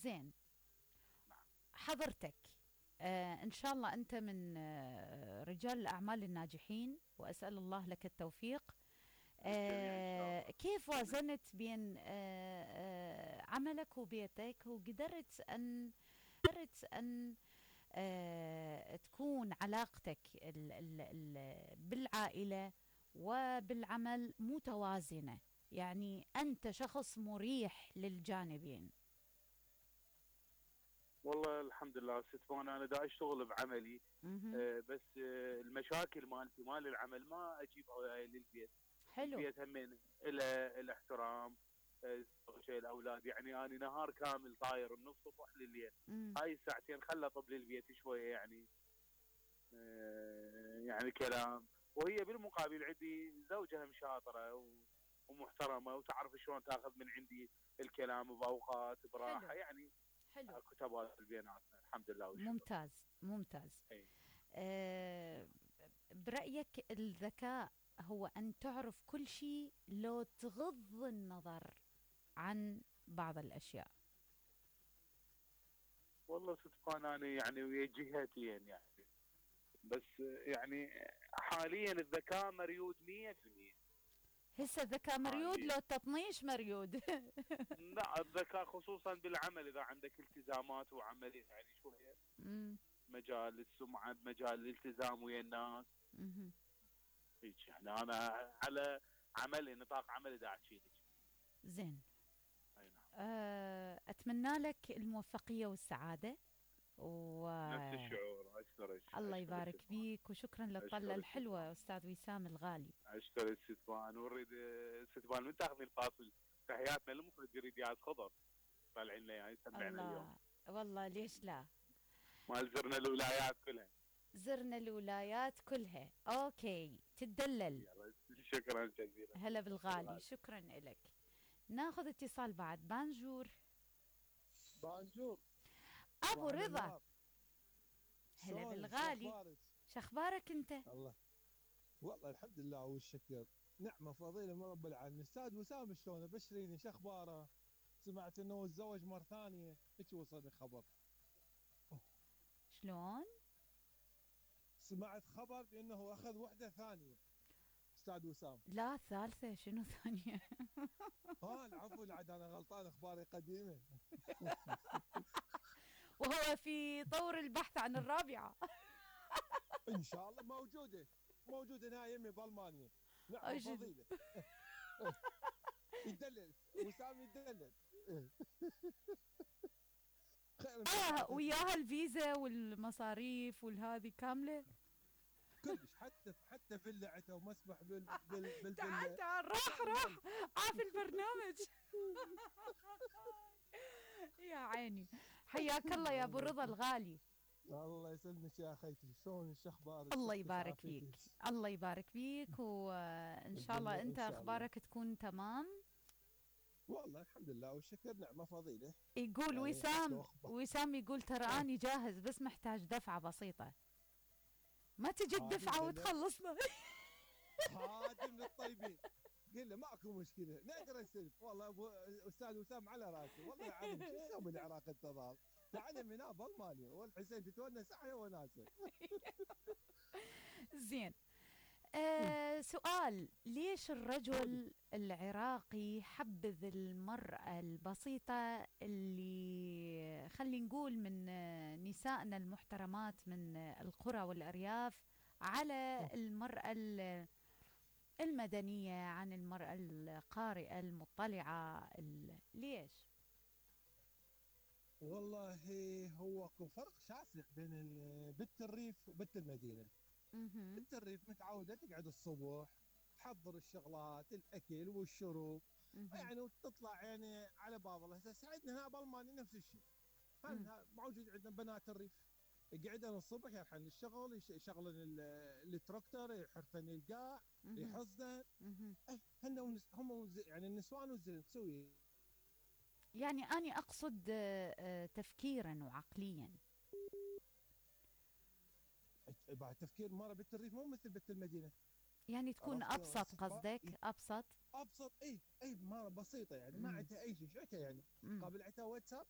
زين. نعم. حضرتك إن شاء الله أنت من رجال الأعمال الناجحين، وأسأل الله لك التوفيق. للجميع ان شاء الله. كيف وازنت بين عملك وبيتك، وقدرت أن تكون علاقتك بالعائلة وبالعمل متوازنة؟ يعني أنت شخص مريح للجانبين. والله الحمد لله ست فانا، انا دا اشتغل بعملي. مهم. بس المشاكل مالتي مال العمل ما اجيبها وياي للبيت. حلو. البيت همين الاحترام، زوجي، الاولاد. يعني انا نهار كامل طاير من الصبح لليل. مم. هاي الساعتين خلى طب للبيت شويه، يعني يعني كلام. وهي بالمقابل عندي زوجها شاطره ومحترمه، وتعرف شلون تاخذ من عندي الكلام باوقات براحه. حلو. يعني حلو. اكو تبادل بيناتنا الحمد لله والشكر. ممتاز ممتاز. اي. آه، برأيك الذكاء هو أن تعرف كل شيء لو تغض النظر عن بعض الأشياء؟ والله صدقا انا يعني ويا جهتين يعني. بس يعني حاليا الذكاء مريود 100%. هسه الذكاء مريود حاليا لو التطنيش مريود. لا، الذكاء خصوصا بالعمل، اذا عندك التزامات وعمل يعني شويه مم. مجال السمعه، بمجال الالتزام ويا الناس. مهم. هيك يعني انا على عملي، نطاق عملي دا احكي لك. زين. اي نعم. أتمنى لك الموفقية والسعادة نفس والله الشعور. اشكرك ست يبارك فان. بيك، وشكرا للطلة اشكرك ست الحلوة فان. أستاذ وسام الغالي. اشكرك ست فان. ونريد ست فان من تاخذي الفاصل تحياتنا للمخرج رياض خضر، طالعين لنا اياه يسمعنا اليوم. الله، والله ليش لا. مال زرنا الولايات كلها. زرنا الولايات كلها. أوكي، تدلل. يلا شكرا جزيلا. هلا بالغالي، بالغالي. شكرا لك. ناخذ اتصال بعد. بانجور. بانجور. أبو صباح رضا. النهار. هلا شلونك؟ بالغالي. شخبارك؟ شخبارك أنت؟ الله، والله الحمد لله والشكر. نعمة فضيلة من رب العالمين. استاذ وسام شلونه؟ بشريني شخباره. سمعت انه تزوج مرة ثانية، هيك وصلني خبر. شلون؟ سمعت خبر بانه اخذ وحدة ثانية استاذ وسام. لا، ثالثة شنو ثانية؟ العفو، عاد انا غلطان، اخباري قديمة. وهو في طور البحث عن الرابعة. ان شاء الله موجودة هنا يمي بالمانيا. نعمة أجل. فضيلة. يدلل وسام يدلل. خير ان شاء الله. وياها الفيزا والمصاريف والهذه كاملة. كلش، حتى فلعته ومسبح تعال بالفله. تعال، راح عاف البرنامج. يا عيني، حياك الله يا ابو رضا الغالي. الله يسلمك يا اخيتي، شلون اخبارك؟ الله صحتك يبارك فيك. عافيتك؟ الله يبارك فيك، وان شاء الله ان انت شاء الله. اخبارك تكون تمام. والله الحمد لله والشكر، نعمه فضيله. يقول يعني وسام يقول ترى اني جاهز، بس محتاج دفعة بسيطة. ما تجي الدفعة وتخلصنا؟ خادم للطيبين. قل له ماكو مشكله، نقدر نسلف. والله ابو استاذ وسام على راسي، والله العظيم شو نسوي العراق التضاد. تعال من هنا بالمالي، والحسين تتونس احيا وناسه. زين. سؤال: ليش الرجل العراقي حبذ المرأة البسيطة اللي خلي نقول من نسائنا المحترمات من القرى والأرياف على المرأة المدنية، عن المرأة القارئة المطلعة؟ ليش؟ والله هو اكو فرق شاسع بين بنت الريف وبنت المدينه. مهم. بنت الريف متعوده تقعد الصبح تحضر الشغلات، الاكل والشرب، مهم. يعني وتطلع يعني على باب الله. هسه عندنا هنا بالمانيا نفس الشيء. موجود عندنا بنات الريف يقعدن الصبح يروحن للشغل، يشغلن التراكتور، يحرثن القاع، مهم. يحصدن. مهم. هن هم يعني النسوان والزلم تسوي. يعني أنا أقصد تفكيرا وعقليا. بعد تفكير مره بنت الريف مو مثل بنت المدينه. يعني تكون عرفت أبسط، قصدك أبسط؟ ابسط. اي مره بسيطه يعني، ما مم. عندها اي شيء. شو عندها يعني؟ مم. قابل عندها واتساب